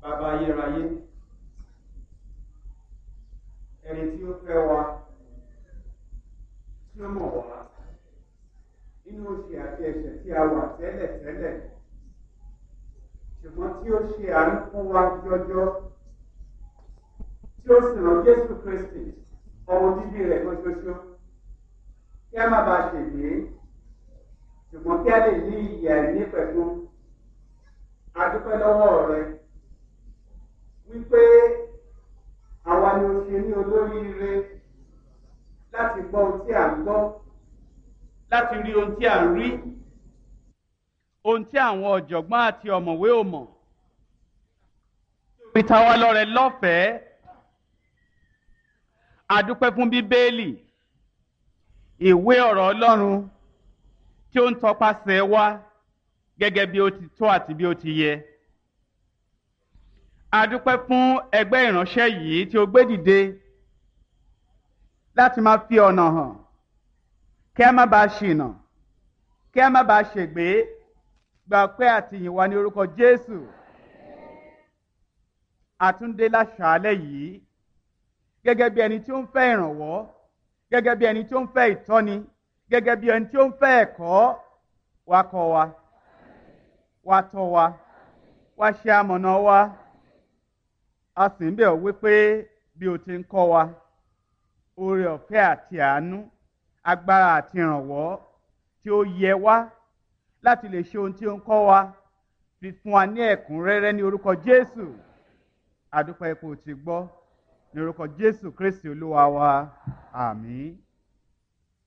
Bàbá ayérayé, ẹni tí ó fẹ́ wa, tí ó mọ̀ wá nínú òṣì àti ẹ̀ṣẹ̀ tí a wà tẹ́lẹ̀ tẹ́lẹ̀, ṣùgbọ́n tí ó ṣe àánú fún wa jọjọ, tí ó sì rán Jésù Kristi, ọmọ bíbí rẹ̀ kan ṣoṣo, kí a má bàa ṣègbé, ṣùgbọ́n kí a lè ní ìyè àìnípẹ̀kun. A dúpẹ́ lọ́wọ́ rẹ wípé àwa ni o ṣe ní olóríire láti gbọ́ ohun tí à ń gbọ́, láti rí ohun tí à ń rí, ohun tí àwọn ọ̀jọ̀gbọ́n àti ọ̀mọ̀wé ò mọ̀. Fi ta wá lọ́rẹ lọ́fẹ̀ẹ́. A dúpẹ́ fún Bíbélì, ìwé ọ̀rọ̀ Ọlọ́run tí ó ń tọpasẹ̀ wa gẹ́gẹ́ bí ó ti tó àti bí ó ti yẹ. A dúpẹ́ fún ẹgbẹ́ ìránṣẹ́ yìí tí ó gbé dìde láti máa fi ọ̀nà hàn kí a má bàa ṣìnà, kí a má bàa ṣègbé. Gba ọpẹ́ àti ìyìn wa ní orúkọ Jésù. Àtúndé láṣàálẹ̀ yìí gẹ́gẹ́ bí ẹni tí ó ń fẹ́ ìrànwọ́, gẹ́gẹ́ bí ẹni tí ó ń fẹ́ ìtọ́ni, gẹ́gẹ́ bí ẹni tí ó ń fẹ́ ẹ̀kọ́. Wá kọ́ wa, wá tọ́ wa, wá ṣe amọ̀nà wa. A sì ń bẹ̀ ọ́ wípé bí o ti ń kọ́ wa, oore ọ̀fẹ́ àti àánú, agbára àti ìrànwọ́ tí ó yẹ wá láti lè ṣe ohun tí ó ń kọ́ wa, fi fún wa ní ẹ̀kúnrẹ́rẹ́ ní orúkọ Jésù. A dúpẹ́ ipò tí gbọ́ ní orúkọ Jésù Kristi Olúwa wa. Àmín.